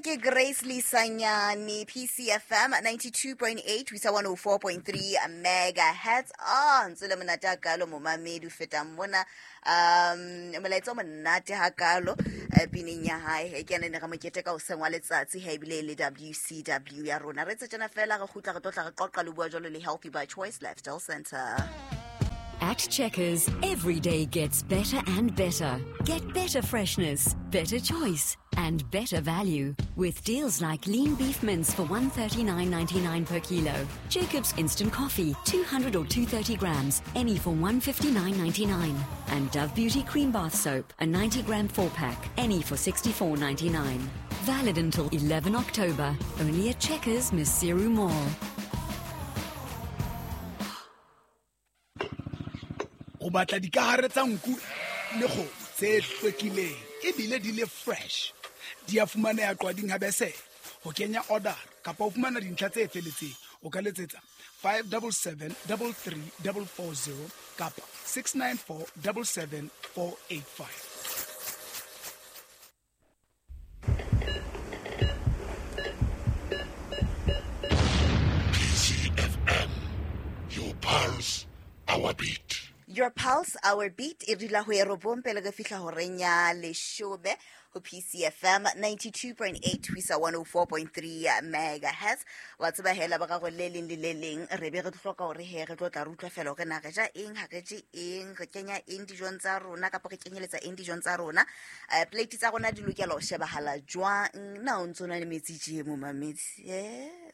Ke Grace Lisanyane, PCFM 92.8 ho isa 104.3 megahertz. Ah, ntse le monate hakalo momamedi o fetang mona. Molaetsa o monate hakalo pineng ya hae. He ke ene ne re mokete ka hoseng wa letsatsi he ebile e le WCW ya rona. Re tse tjena fela re kgutla re tlo tla re qoqa le bua jwalo le Healthy by Choice Lifestyle Center. At Checkers, every day gets better and better. Get better freshness, better choice, and better value. With deals like lean beef mince for $139.99 per kilo, Jacob's instant coffee, 200 or 230 grams, any for $159.99, and Dove Beauty cream bath soap, a 90 gram 4-pack, any for $64.99. Valid until 11 October, only at Checkers, Maseru Mall. O batla dikahare tsa nku le kgomo tse hlwekileng ebile di le fresh. Di a fumaneha Qwading ha Besele. Ho kenya order kapa ho fumana dintlha tse felletseng, o ka letsetsa 577 33 440 kapa 694 77 485. PCFM, your pulse, our beat. Your pulse, our beat. E dula ho e robong pele re fihla horeng ya leshome ho PCFM 92.8 ho isa 104.3 megahertz. Wa tseba hela ba gago le leng le le leng re be re hloka hore he re tlo tla re utlwa fela hore na re ja eng, ha re je eng, re kenya eng dijong tsa rona kapa re kenyeletsa eng dijong tsa rona. Plate tsa rona di lokela ho shebahala jwang? Na o ntso na le metsi tje momamedi?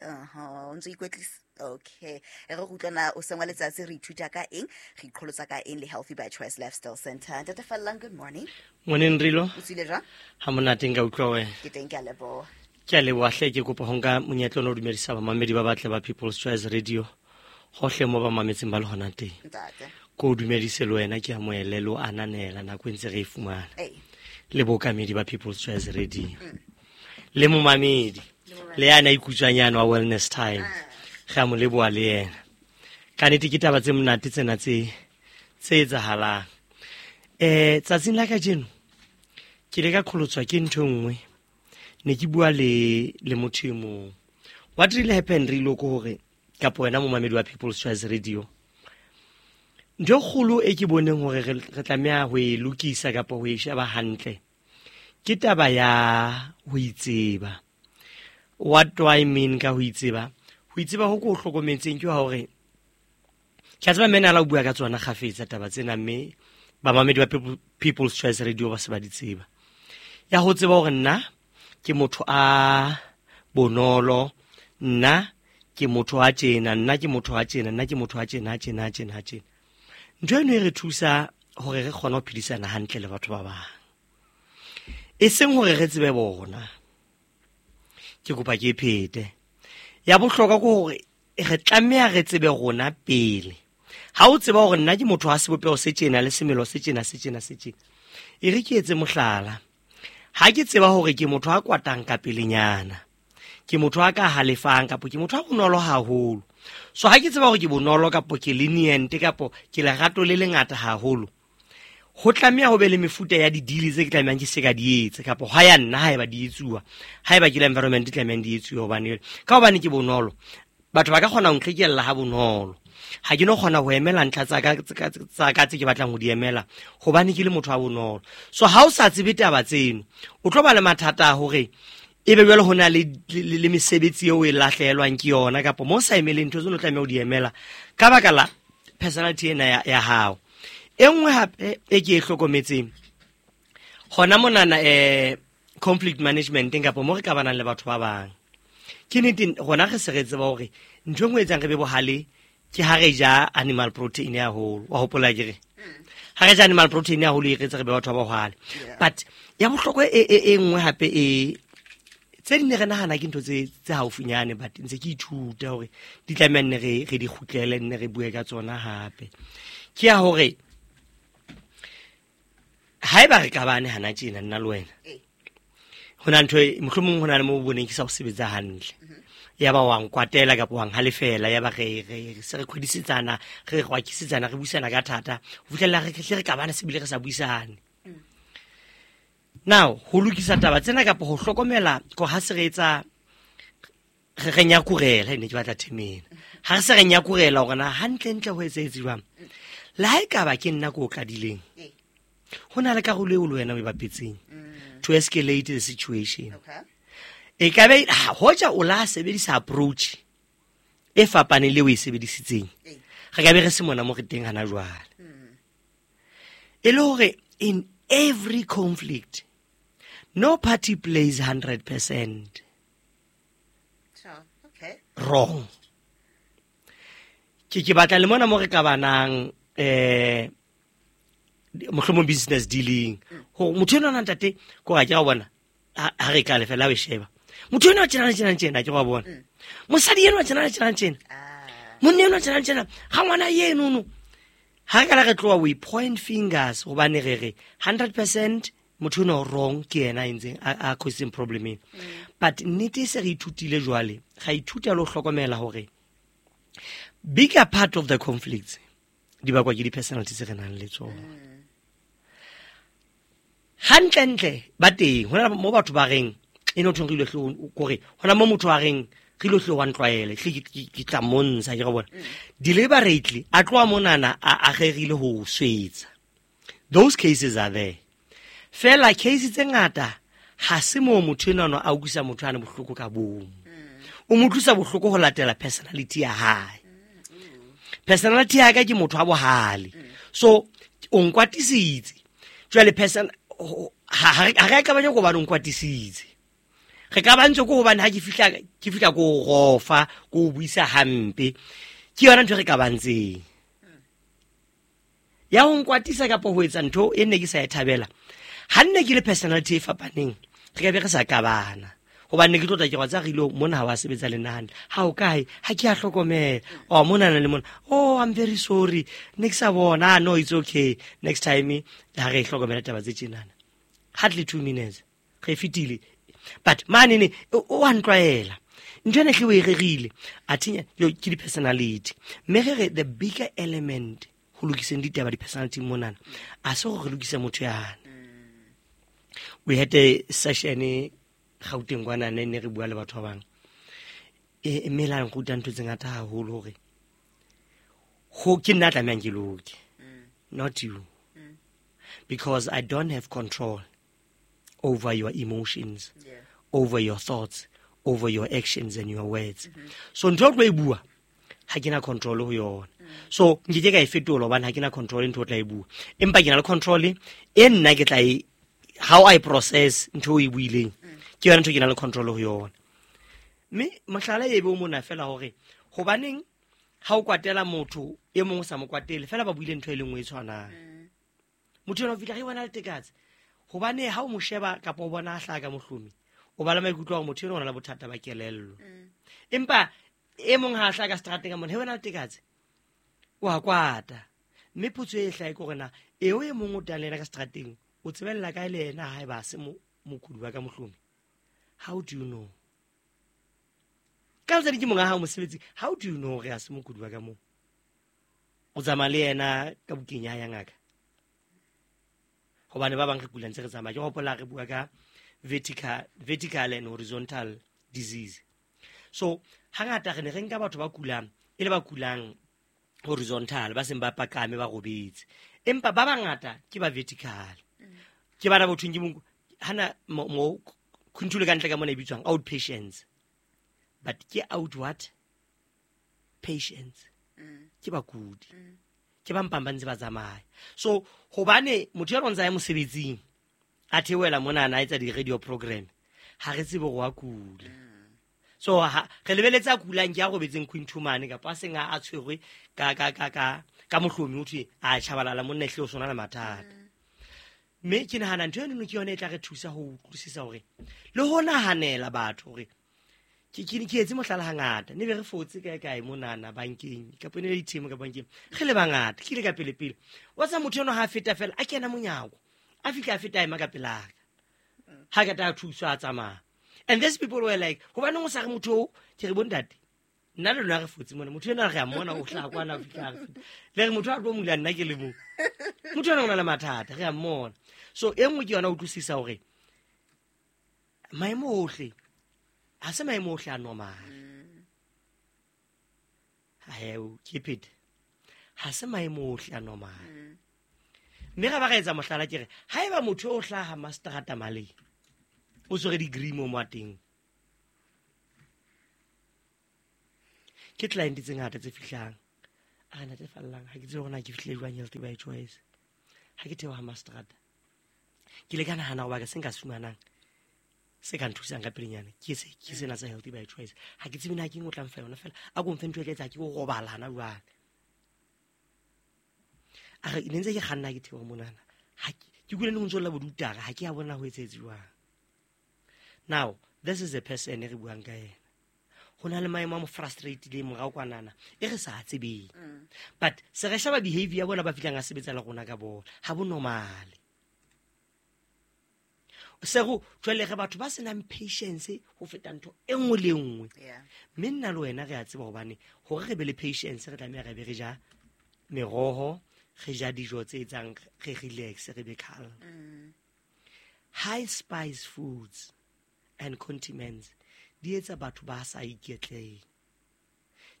Aha, o ntso ikwetlisa? Okay. Re go utlwana o sengwa letsatsi re ithuta ka eng, re iqholotsa ka eng le Healthy by Choice Lifestyle Center. Ntate Fallang, good morning. Morning Rilo. O tswile jwang? Ha monate nka utlwa wena. Ke teng, ke a leboha. Ke a leboha hle, ke kopa ho nka monyetla ona o dumedisa bamamedi ba batle ba People's Choice Radio hohle mo ba mametseng ba le hona teng. Ntate. Ko o dumedise le wena, ke amohele le o ananela nako e ntse re e fumana. Ee. Le bookamedi ba People's Choice Radio. Le momamedi. Le yana ikutswanyana wa Wellness Time. Re a mo leboha le yena. Ka nnete ke taba tse monate tsena tse etsahalang. Tsatsing la kajeno ke ile ka qholotswa ke ntho e nngwe. Ne ke bua le motho e mong. What really happened re ile ko hore kapa wena momamedi wa People's Choice Radio, ntho e kgolo e ke boneng hore re tlameha ho e lokisa kapa ho e sheba hantle ke taba ya ho itseba. What do I mean ka ho itseba? Ho itseba ho ko hlokometseng ke hore ke a tseba mme na la o bua ka tsona kgafetsa taba tsena, mme bamamedi ba People's Choice Radio ba se ba di tseba. Ya ho tseba hore nna ke motho a bonolo, nna ke motho a tjena, nna ke motho a tjena, nna ke motho a tjena, a tjena, a tjena, a tjena. Ntho eno e re thusa hore re kgone ho phedisana hantle le batho ba bang. E seng hore re tsebe bona. Ke kopa ke phete. Ya bohlokwa ke hore re tlameha re tsebe rona pele. Ha o tseba hore nna ke motho wa sebopeho se tjena le semelo se tjena, se tjena, se tjena. E re ke etse mohlala. Ha ke tseba hore ke motho a kwatang ka pelenyana, ke motho a ka halefang kapo ke motho a bonolo haholo. So ha ke tseba hore ke bonolo kapo ke lenient kapo ke lerato le lengata haholo, ho tlameha ho be le mefuta ya di-deal tse ke tlamehang ke se ka di etse, kapo ha ya nna haeba di etsuwa, haeba ke la environment e tlamehang di etsuwe, hobane ka hobane ke bonolo, batho ba ka kgona ho nqhekella ha bonolo. Ha ke no kgona ho emela ntlha tsa ka, tsa ka tse ke batlang ho di emela, hobane ke le motho wa bonolo. So ha o sa tsebe taba tseno, o tlo ba le mathata a hore ebe jwale ho na le mesebetsi eo o e lahlehelwang ke yona, kapo mo o sa emeleng ntho tseno o tlameha ho di emela ka baka la personality ena ya hao. E nngwe hape e ke e hlokometseng hona monana, conflict management kapo mo re ka banang le batho ba bang. Ke nnete rona re se re tseba hore ntho e nngwe e etsang re be bohale ke ha re ja animal protein haholo. Wa hopola ke re? Ha re ja animal protein haholo e re etsa re be batho ba bohale. But ya bohlokwa e nngwe hape e tse di ne re nahana ke ntho tse haufinyane, but ntse ke ithuta hore di tlameha nne re di kgutlele, nne re bue ka tsona hape. Ke ya hore haeba re kabane hana tjena nna le wena, ho na ntho e, mohlomong ho na le mo boneng ke sa ho sebetsa hantle. Ya ba wa nkwatela kapa wa nhalefela, ya ba re se re kgodisetsana, re rwakisetsana, re buisana ka thata, ho fihlella re hle re kabane se bile re sa buisane. Now ho lokisa taba tsena kapa ho hlokomela ko ha se re etsa re nyakurela, ne ke batla themena ha re se re nyakurela hore na hantlentle ho etsahetse jwang. Le ha e ka ba ke nna ko o qadileng, ho na le karolo eo le wena o e bapetseng to escalate the situation. E ka be hoja o la sebedisa approach e fapaneng le o e sebedisitseng, re ka be re se mona mo re teng hana jwale. E le hore in every conflict no party plays 100% wrong. Ke batla le mona mo re ka banang mohlomong business dealing, hore motho enwa ntate ko ga ke ga bona ha re ka lefela o sheba motho enwa tjena tjena tjena, ke go bona mosadi enwa tjena tjena tjena, monna enwa tjena tjena, ga ngwana yeno no. Ha ka la re tloa we point fingers hobane re re 100% motho enwa wrong, ke yena a entseng a causing problem ena. But nnete e se re ithutile jwale, ga ithuta le ho hlokomela hore bigger part of the conflicts di bakwa ke di-personality tse re nang le tsona. Hantlentle ba teng hona mo batho ba reng e no thong re ile hlo kore hona mo motho a reng re ile hlo wa ntlwaele ke tla montsha ke go bona deliberately a tloa monana a rerile ho swetsa. Those cases are there. Fela case tse ngata ha se mo motho enwa a utlwisa motho ana bohloko ka bomo. O mo utlwisa bohloko ho latela personality ya hae. Personality ya ka ke motho wa bohale. So o nkwatisitse. Jwale person ha re ka banya go ba nkwatisitse. Re ka ba ntse go hobane ha ke fihla go rofa, go buisa hampe. Ke yona ntho re ka bantseng. Ya ho nkwatisa kapa ho etsa ntho e nne ke sa e thabela. Ha nne ke le personality e fapaneng, re ka be re sa kabana. Hobane ke tlotla ke wa tsa re ile mona ha wa sebetsa le nna hantle. Ha o kae? Ha ke a hlokomela. Oh mona na le mona. Oh I'm very sorry. Ne ke sa bona. No it's okay. Next time ha re hlokomela taba tse tjenana. Hardly 2 minutes. Re fitile. But mane ne o a ntlwaela. Ntho ena hle o e rerile. A thinya yo ke di personality. Mme re re the bigger element ho lokiseng ditaba di personality monana. A se gore re lokise motho yana. We had a session Gauteng kwana ne re bua le batho ba bang. E mme la nruta ntho tse ngata haholo hore ho ke nna tlamehang ke loke, not you. Because I don't have control over your emotions, over your thoughts, over your actions and your words. So ntho e tlo e bua ha ke na control ho yona. So nke ke ka e fetola hobane ha ke na control ntho o tla e bua. Empa ke na le control e nna ke tla e how I process ntho e buileng. Ke yona ntho ke na le control ho yona. Mme mohlala e be o mona fela hore hobaneng ha o kwatela motho e mong o sa mo kwatele fela ba buile ntho e le nngwe e tshwanang. Motho ena o fihla re bona le tekatse. Hobane ha o mo sheba kapa o bona a hlaha ka mohlomi, o ba le maikutlo a hore motho ena o na le bothata ba kelello. Empa e mong ha a hlaha ka seterateng ka mona, he wena le tekatse, o a kwata. Mme potso e hlahe ke hore na eo e mong o tang le yena ka seterateng, o tsebella kae le yena ha eba se mokudi wa ka mohlomi? How do you know? Ka letsatsi ke monga hao mosebetsi, how do you know hore ha se mokudi wa ka moo? O tsamaya le yena ka bukeng ya ngaka. Hobane ba bang re kula ntse re tsamaya. Ke hopola re bua ka vertical and horizontal disease. So hangata re ne re nka batho ba kulang e le ba kulang horizontal, ba seng ba pakame ba robetse. Empa ba bangata ke ba vertical. Ke bana bo thweng ke mong hana mo khunthule ka ntle ka mona e bitswang outpatients. But ke out what? Patients. Ke bakudi. Ke ba mpang ba ntse ba tsamaya. So hobane motho ya rona ya mosebetsing a theohela mona a etsa di-radio program, ha re tsebe hore wa kula. So ha re lebeletse a kulang ke a robetseng Quintumane kapa a seng a tshwerwe ka mohlomi ho thwe a tjhabalala monna ehle o sona le mathata. Mme ke nahana ntho eno ke yona e tla re thusa ho utlwisisa hore le ho nahanela batho hore ke etse mohlala hangata ne be re fotse kae kae monana bankeng kapa ne le ATM ka bankeng re le bangata ke ile ka pele pele wa tsa motho eno ha feta fela a kena monyako a fihla a feta a ema ka pelaka ha ka ta thuswa a tsamaya. And these people were like hobaneng o sa re motho o ke re bontate nna le lona re fotse mona motho ena re a mmona o hlaha kwana a fihla a re feta le re motho a tlo mula nna ke le mo motho ena o na le mathata re a mmona. So e nngwe ke yona o utlwisisa hore Maemo ohle ha se maemo ohle a normal. Heo, keep it. Ha se maemo ohle a normal. Mme ga ba ga etsa mohlala ke re haeba motho o hlaha mastrata maleng o tshwere degree mo mo teng, ke client tse ngata tse fihlang a re natefallang ha ke tsebe hore na ke fihlile jwang Healthy by Choice. Ha ke theoha mastrata ke le ka nahana hoba ka se nka se fumanang se ka nthusang ka pelenyana ke se ke sena sa Healthy by Choice. Ha ke tsebe na ke eng o tla mfa yona fela a ko mfe ntho e tla etsa ke go robalana jwale. A re ne ntse ke kganna ke theoha monana ha ke kule ne ho ntso lla bodutara ha ke a bona ho etsahetse jwang. Now this is a person e re buang ka yena. Ho na le maemo a mo frustratileng morao kwanana e re sa tsebeng. But se re sheba behavior ya bona ba fihlang a sebetsa le rona ka bona ha bo normal. Se go jwale re batho ba senang patience ho feta ntho e nngwe le nngwe. Mme nna le wena re a tseba hobane hore re be le patience re tlameha re be re ja meroho, re ja dijo tse etsang re relax, re be calm. High spice foods and condiments di etsa batho ba sa iketleng.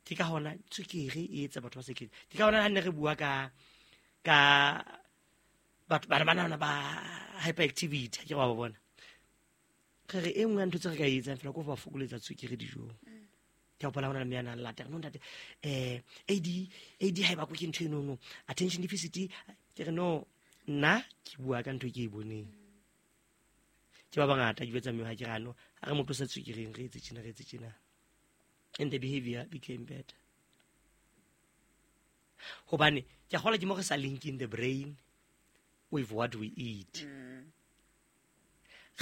Ke ka hona tswekere e etsa batho ba sa iketleng. Ke ka hona ha ne re bua ka batho ba bana ba hyperactivity, ke wa ba bona. Re re e nngwe ya ntho tse re ka e etsang fela ke ho ba fokoletsa tswekere dijong. Ke hopola hona le mme a nang lata, no ntate, AD ha e bakwe ke ntho eno no, attention deficit. Ke re no, nna ke bua ka ntho e ke e boneng. Ke ba bangata ke jwetsa mme ha ke re ano, ha re mo tlosa tswekereng, re etse tjena, re etse tjena. And the behavior became better. Hobane ke a kgolwa ke mo re sa linking the brain with what we eat.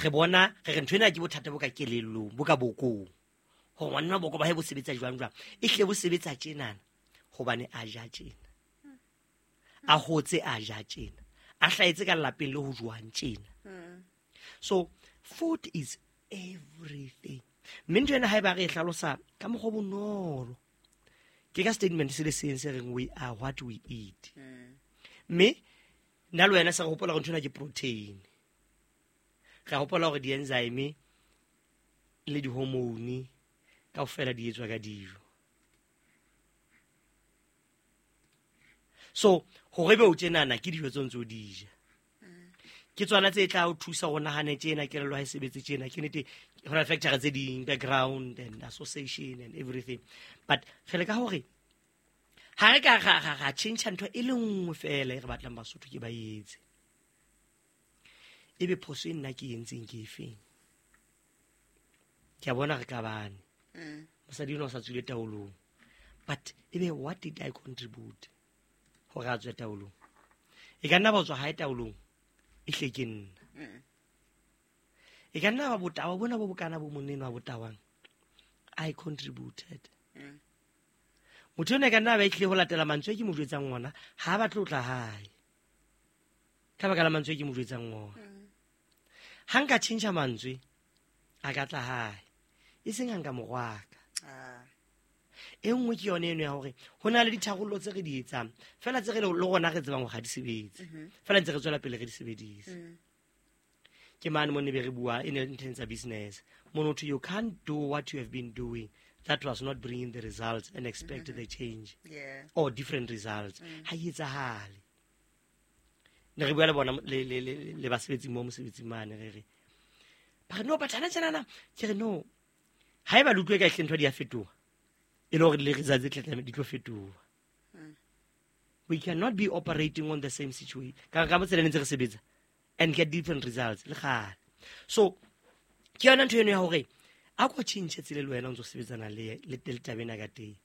Re bona re re ntho ena ke bothata bo ka kelellong, bo ka bokong. Hore ngwanenwa boko ba hae bo sebetsa jwang jwang. E hlile bo sebetsa tjenana hobane a ja tjena. A hotse a ja tjena. A hlahetse ka lelapeng le ho jwang tjena. So food is everything. Mme ntho ena haeba re e hlalosa ka mokgwa o bonolo, ke ka statement se le seng se reng we are what we eat. Mme nna le wena se re hopola hore ntho ena ke protein. Re hopola hore di-enzyme le di-hormone kaofela di etswa ka dijo. So hore be o tjenana ke dijo tse ntse o di ja. Ke tsona tse tla o thusa ho nahana tjena, kelello ha e sebetse tjena. Ke nnete ho na le factor tse ding, background and association and everything. But re leka hore ha re ka ra tjhentjha ntho e le nngwe fela e re batlang Basotho ke ba etse. Ebe phoso e nna ke e entseng ke efeng? Ke a bona re kabane. Mosadi enwa o sa tswile taolong. But ebe what did I contribute hore a tswe taolong? E ka nna ba tswa hae taolong, e hle ke nna. E ka nna ba botawa bona bo bokana bo monna enwa botawang, I contributed. Motho enwa e ka nna ba e tlile ho latela mantswe ke mo jwetsang ona, ha ba tlo tla hae. Ka baka la mantswe ke mo jwetsang ona. Ha nka tjhentjha mantswe, a ka tla hae. E seng ha nka mo rwaka. E nngwe ke yone eno ya hore ho na le ditharollo tse re di etsang fela tse re le rona re tsebang hore ha di sebetse. Fela ntse re tswela pele re di sebedise. Ke mane mo ne be re bua e ne ntheng tsa business. Motho, you can't do what you have been doing that was not bringing the results and expect the change. Or different results. Ha e etsahale. Ne re bua le bona le basebetsi mo mosebetsing mane re re. Ba re no but hana tjena ke re no. Haeba le utlwe ka ehle ntho di a fetoha, e le hore le results tse tla di tlo fetoha. We cannot be operating on the same situation. Ka ka tsela ntse re sebetsa and get different results le kgale. So ke yona ntho eno ya hore a ko tjhentjhe tsela le wena o ntso sebetsana le taba ena ka teng.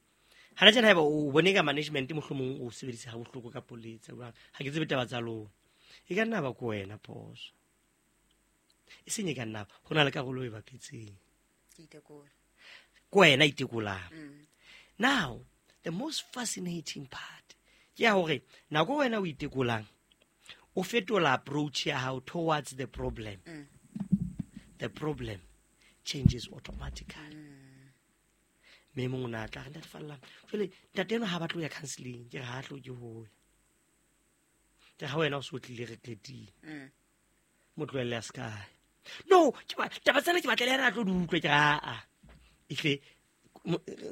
Hana tjena haeba o bone ka management mohlomong o sebedisa ha bohloko ka poletsa jwang, ha ke tsebe taba tsa lona. E ka nna ba ko wena phoso. E seng e ka nna ho na le karolo e bapetseng. Ko wena itekolang. Now, the most fascinating part ke ya hore nako wena o itekolang, o fetola approach ya hao towards the problem. The problem changes automatically. Mme mong o na tla re ntate Fallang, jwale ntate enwa ha batle ho ya counseling, ke re ha hloke ho ya. Ke ha wena o so tlile re qetile. Mo tlohelle a se kae. No, ke ba taba tsena ke batla le yena a tlo di utlwe, ke re aa ehle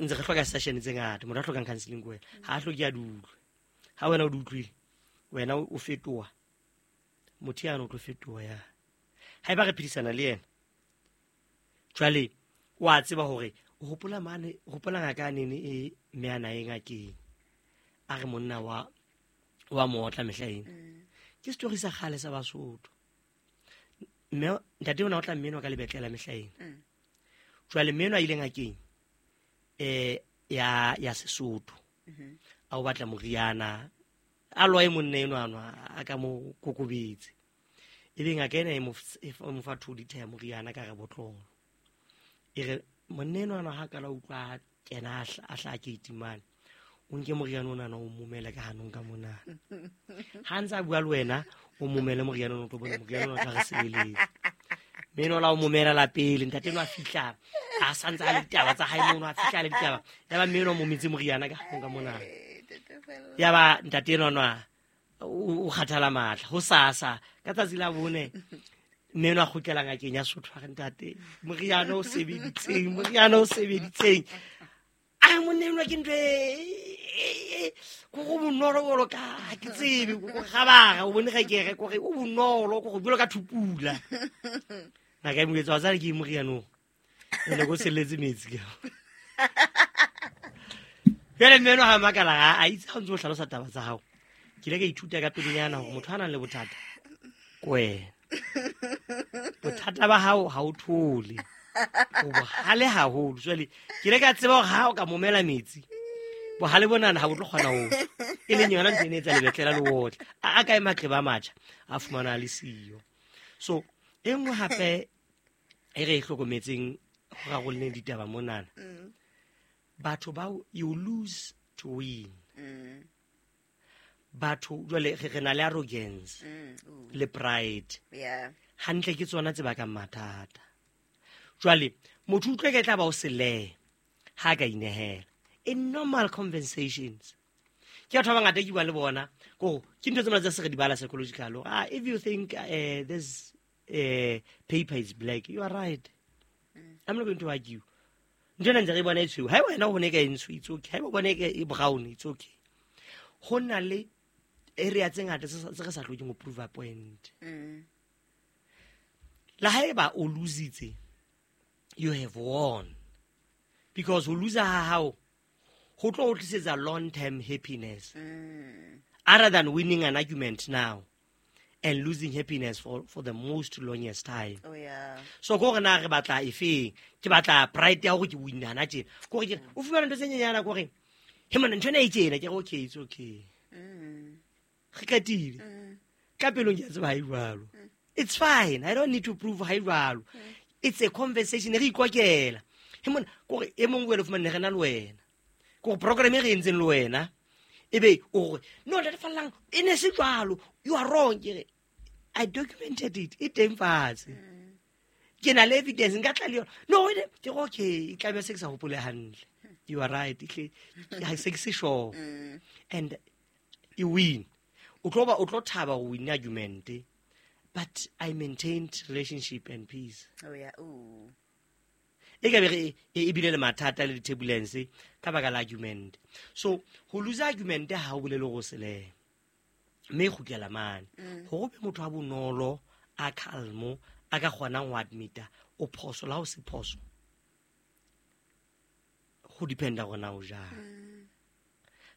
ntse re hloka session tse ngata. Motho a hlokang counseling ke wena, ha a hloke a di utlwe. Ha wena o di utlwile, wena o fetoha motho yane, o tlo fetoha ya ha eba re phedisana le yena. Jwale wa tseba hore o hopola mane, o hopola ngaka nene e mme a na e ngakeng a re monna wa mootla mehla ena. Ke story sa kgale sa Basotho. Mme ntate ona o tla mme enwa ka lebetlela mehla ena. Jwale mme enwa a ile ngakeng ya Sesotho. A o batla moriana, a lwae monna enwa anwa a ka mo kokobetse. Ebe ngaka ena e mo fa 2 liter ya moriana ka re botlolo. E re monna enwa anwa ha kala utlwa kena a hla ke itimane. O nke moriana ona o momele ka hanong ka mona. Ha ntse a bua le wena, o momele moriana ona, o tlo bona moriana ona o tla re sebeletsa. Mme enwa la o momela la pele, ntate enwa a fihla, a sa ntse a le ditaba tsa hae mono, a fihla a le ditaba. Ya ba mme enwa o mometse moriana ka hanong ka mona. Ya ba ntate enwa nwa o kgathala matla. Ho sasa ka tsatsi la bone, mme enwa a kgutlela ngakeng ya Sotho, a re ntate, moriana o sebeditseng, moriana o sebeditseng. A monna enwa ke ntho e ko go bonolo jwalo ka ha ke tsebe, ko go gabara, o bone ga ke re, ko re o bonolo, ko go jwalo ka thupula. Ngaka e mo jwetsa, wa tseba ke moriana o? Ene ko selletse metsi ke. Jwale mme enwa ha makala, a itse ha o ntse o hlalosa taba tsa hao. Ke ile ka ithuta ka pelenyana hore motho a nang le bothata ke wena. Bothata ba hao ha o thole. O bohale haholo. Jwale ke ile ka tseba hore ha o ka momela metsi, bohale bonana ha bo tlo kgona ho tswa. E leng yona ntho e ne etsa lebetlela le otle. A kae maqeba a matjha, a fumana a le siyo. So e nngwe hape e re e hlokometseng ho rarolleng ditaba monana, batho bao you lose to win. Batho jwale re na le arrogance le pride. Hantle ke tsona tse bakang mathata. Jwale motho utlwe ke tla ba o sele ha ka inehela. In normal conversations, ke batho ba bangata ke bua le bona, ko ke ntho tse mona tse se re di bala psychological. If you think this paper is black, you are right. I'm not going to argue. Ntho ena ntse re bona e tshweu. Ha wena o bone ka e ntsho, it's okay. Ha o bone ka e brown, it's okay. Ho na le area tse ngata tse re sa hlokeng ho prove a point. La haeba o lositse, you have won. Because ho loser ha hao ho tlo o tlisetsa long term happiness. Other than winning an argument now and losing happiness for the most longest time. Oh yeah. So ko re na re batla efeng? Ke batla pride ya hore ke win hana tjena. Ko re ke o fumana ntho tse nyenyana ko re he monna ntho ena e tjena, ke re okay, it's okay. Re qetile. Ka pelong ke a tseba ha e jwalo. It's fine. I don't need to prove ha e jwalo. It's a conversation re ikokela. He monna ko re e mongwe le fumane re na le wena. Ko re program e re entseng le wena ebe o re no ntate Fallang e ne se jwalo, you are wrong. Ke re I documented it, e teng fatshe. Ke na le evidence, nka tla le yona. No, e ke re okay, e tlabe se ke sa hopole hantle. You are right, ehle ha se ke se sure. And you win. O tlo ba, o tlo thaba ho win argument, but I maintained relationship and peace. Oh yeah, ooh. E ka be re e bile le mathata le di-turbulence ka baka la argument. So ho lose argument ha o bolele hore o sele, mme e kgutlela mane. Hore o be motho wa bonolo, a calm, a ka kgonang ho admit-a o phoso la ho se phoso, ho dependa hore na o jang.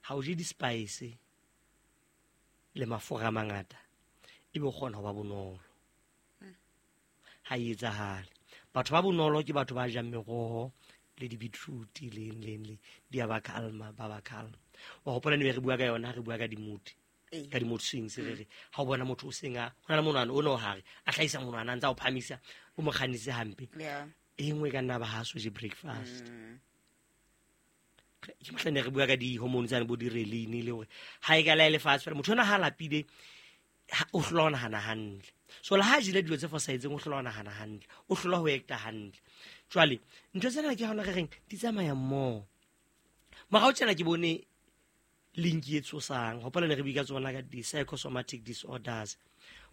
Ha o je di-spice le mafura a mangata, ebe o kgona ho ba bonolo. Ha e etsahale. Batho ba bonolo ke batho ba jang meroho le di-beetroot le eng, le eng, le di a ba calma, ba ba calm. Wa hopola ne re bua ka yona, re bua ka di-mood. Ka di-mood swings, re re, ha o bona motho o seng a, ho na le monwana o no hare, a hlahisa monwana, a ntse a o phamisa, o mo kgannise hampe. E nngwe e ka nna ba ha so je breakfast. Ke mohla ne re bua ka di-hormone tsane bo di-reline le hore ha e ka la e lefatshe fela, motho ona ha lapile, ha, o hlola ho nahana hantle. So le ha jele dilo tse fosahetseng, o hlola ho nahana hantle, o hlola ho acta hantle. Jwale ntho tsena ke hona re reng di tsamaya mmoho. Morao tjena ke bone link e tshosang, hopola ne re bua ka tsona ka di-psychosomatic disorders,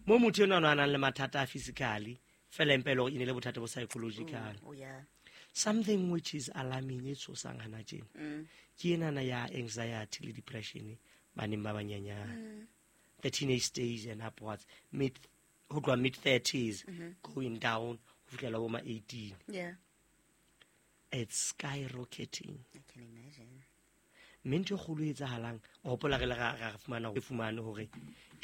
mo motho enwa a nang le mathata a physically, Fela empa e le hore e ne le bothata bo psychological. Oh yeah. Something which is alarming, e tshosang hana tjena, ke enana ya anxiety le depression baneng ba banyenyane, the teenage stage and upwards, mid ho tloha mid 30s going down ho fihlela bo ma 18. It's skyrocketing. I can imagine. Mme ntho e kgolo e etsahalang, o hopola re le ra fumana re fumane hore e